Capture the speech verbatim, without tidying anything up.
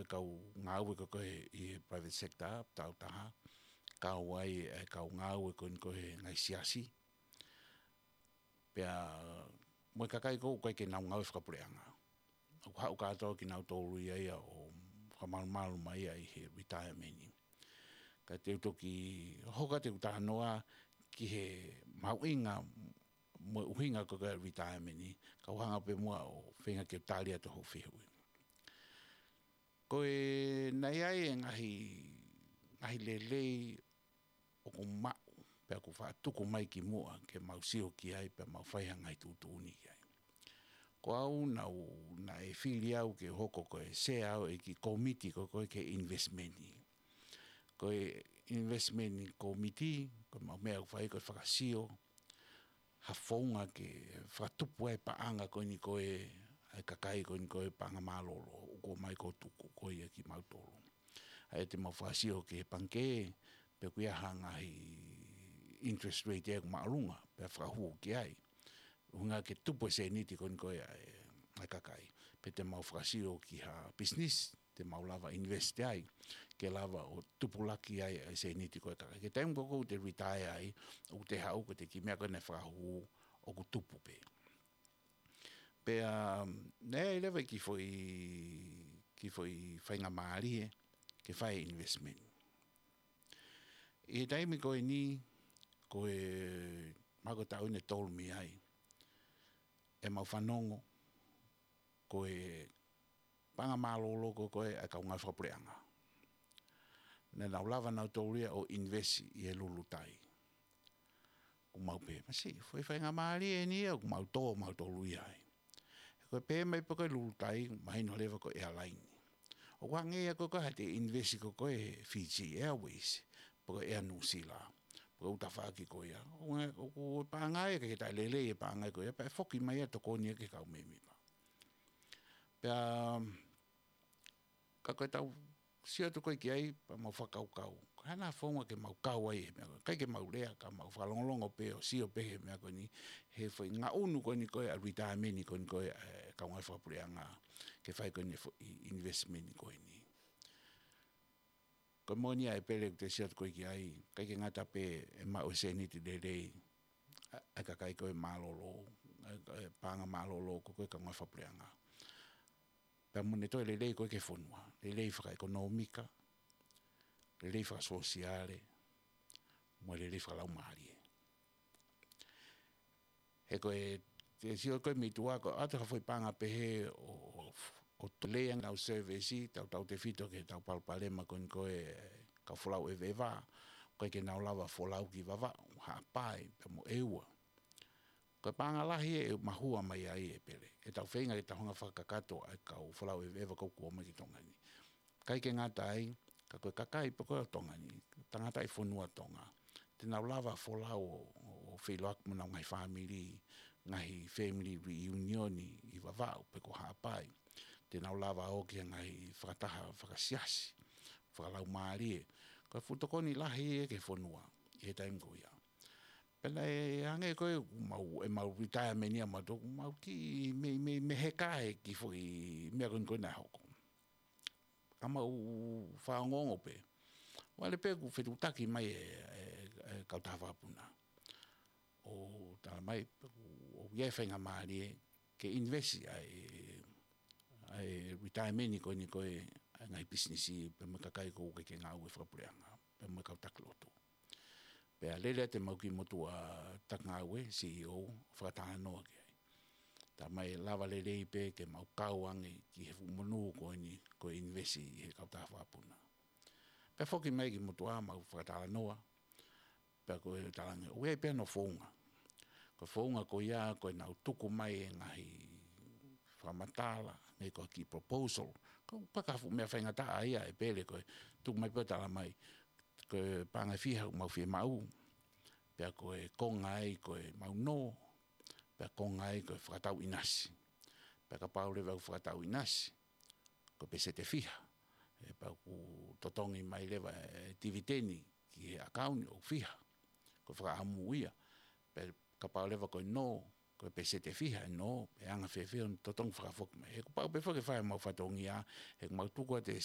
kau ngāue ko ē ʻi he private sector, tau taha, kau ai e kau ngāue ko ē ʻi he ngaahi siasi. Pea mo e kakai ko ē ʻoku ʻikai ke nau ngāue fakapuleʻanga. ʻOku haʻu kātoa kinautolu ia ia ʻo fakamalumalu mai ia ʻi he retirement. Ka te u toki hoko atu ʻeku talanoa ki he mahuʻinga mo e ʻuhinga ko ē ʻo e retirement, ka u hanga pē muʻa ʻo feinga ke tali atu hoʻo fehuʻi. Ko e naʻe ʻi ai e ngaahi, ngaahi lelei ʻoku maʻu, pea ʻoku faʻa tuku mai ki muʻa ke mau sio ki ai, pea mau fai ha ngaahi tuʻutuʻuni ki ai. Ko au naʻu, naʻe fili au ke hoko ko e sea au ʻi he kiʻi kōmiti ko ē ki he investment. Ko e investment committee, ko e maʻu meʻa ʻoku fai ko e fakasio, ha founga ke fakatupu ai e paʻanga ko eni ko ē, ʻa e kakai ko eni ko ē paʻanga mālōlō, ʻoku ʻomai ko e tuku ko ia kimautolu. ʻA ia te mau fakasio ki he pangikē, pe ʻoku ʻi ai ha ngaahi interest rate ʻoku māʻolunga, pea fakahū ki ai. ʻUhinga ke tupu e sēniti ko eni ko ē ʻa e, ʻa e kakai. Pe te mau fakasio ki ha business, te mau lava invest ai, ke lava ʻo tupulaki ai e sēniti ko ē ʻa e kakai. Ki he taimi ko ē ʻoku te retire ai, ʻoku te haʻu ko e kiʻi meʻa ko ē naʻe fakahū ʻoku tupu pē. Pea, naʻe ʻi ai leva e kiʻi foʻi, kiʻi foʻi faingamālie ke fai e investment. ʻI he taimi ko eni, ko e, mahalo ko e taʻu ʻeni ʻe tolu mei ai, ʻemau fanongo, ko e paʻanga mālōlō ko ē ʻa e kau ngāue fakapuleʻanga. Naʻa nau lava nautolu ia ʻo invest ʻi he lulutai. ʻOku mau pehē, masiʻi, foʻi faingamālie ʻeni ia, ʻoku mau tō mautolu ia ai. He ko e pehē mai pē ko e lulutai, mahino leva ko e airline. ʻOku hangē ia ko ē ko e haʻate invest ko ē he Fiji Airways, pe ko e Air New Zealand, pe ko e ʻū tafaʻaki ko ia. ʻOku, ʻoku paʻanga ia, ʻikai ke taʻelelei e paʻanga ko ia, pea ʻe foki mai ia ʻo tokoni ia ki he kau mēmipa. Pea, ka ko ʻetau sio atu ko ē ki ai, pea mau fakakaukau. Ko e hā nai e founga ke mau kau ai he meʻa ko ē. ʻIkai ke mau lea, ka mau fakalongolongo pē ʻo sio pē he meʻa ko eni, he foʻi ngaʻunu ko eni ko ē ʻa e retirement ko eni ko ē, ʻa e kau ngāue fakapuleʻanga, ke fai ko eni e foʻi investment ko eni. Ko e moʻoni ia ʻEpele, ʻoku te sio atu ko ē ki ai, ʻikai ke ngata pē ʻe maʻu e sēniti lelei ʻa, ʻa e kakai ko ē mālōlō, ʻa e, ʻa e paʻanga mālōlō ko ē ʻa e kau ngāue fakapuleʻanga. Pea mo ʻene toe lelei ko ē ki he fonua, lelei fakaʻekonōmika, lelei fakasōsiale, mo e lelei fakalaumālie. He ko e, te sio ko ē mei tuʻa, ko e ʻoatu ha foʻi paʻanga pehē ʻo, ʻo, ʻo toe lelei ange ʻenau service, tautautefito ki heʻetau palopalema ko eni ko ē kau folau ʻeveʻeva, ʻoku ʻikai ke nau lava folau ki Vavaʻu, Haʻapai, pea mo ʻEua. Ko e paʻanga lahi ʻe mahua mai ai ʻEpele. ʻEtau feinga ke tau hanga ʻo fakakakato ʻa e kau folau ʻeveʻeva ko ē ʻoku ō mai ki Tonga ni. ʻIkai ke ngata ai, ka ko e kakai pē ko ē ʻo Tonga ni, tangataʻi fonua Tonga. Te nau lava folau ʻo, ʻo, ʻo feʻiloaki mo honau ngaahi fāmili, ngaahi family reunion ʻi Vavaʻu pe ko Haʻapai. Te nau lava ō ki he ngaahi fakataha fakasiasi, fakalaumālie. Ko e fuʻu tokoni lahi ia ki he fonua, ʻi he taimi ko ia. Pea naʻe hangē ko ē ʻoku mau, ʻemau retirement ia mautolu, ʻoku mau kiʻi mei, mei, mei heka he kiʻi foʻi meʻa ko eni ko ē naʻe hoko. Ka mau fakaongoongo pē. Vale pē kuo fetuʻutaki mai e, e, e kautaha vakapuna. ʻO tala mai, ʻoku ʻi ai e faingamālie ke invest ʻa e, ʻa e retirement ko eni ko ē, ʻa e ngaahi pisinisi, pea mo e kakai ko ē ʻoku ʻikai ke ngāue fakapuleʻanga, pea mo e kau taki lotu. Pea lele atu ʻemau kiʻi motuʻa taki ngāue, C E O, fakatalanoa ki ai. Tala mai ʻe lava lelei pē ke mau kau ange ki he fuʻu monū ko eni, ko e invest ʻi he kautaha vakapuna. Pea foki mai e kiʻi motuʻa mau fakatalanoa, pea ko e talange, ʻoku ʻi ai pē hono founga. Ko e founga ko ia, ko ʻenau tuku mai e ngaahi fakamatala, ngaahi ko e kiʻi proposal. Ko e paka fuʻu meʻa faingataʻa ia ʻEpele ko e tuku mai pē ʻo tala mai, ko e paʻanga ʻe fiha ʻoku mau fiemaʻu, pea ko e konga ai ko ʻemau nō, pea konga ai ko e fakatau ʻinasi. Pea kapau leva ʻoku fakatau ʻinasi, ko e peseti ʻe fiha. Ē, pea ʻoku totongi mai leva e tiviteni ki he ʻakauni ʻoku fiha. Ko e fakaʻamu ia. Pea kapau leva ko e nō, ko e peseti ʻe fiha e nō, ʻe anga fēfē hono totongi fakafoki mai. He kuo pau pē foki ke fai ʻemau fatongia, he ʻoku mau tuku atu e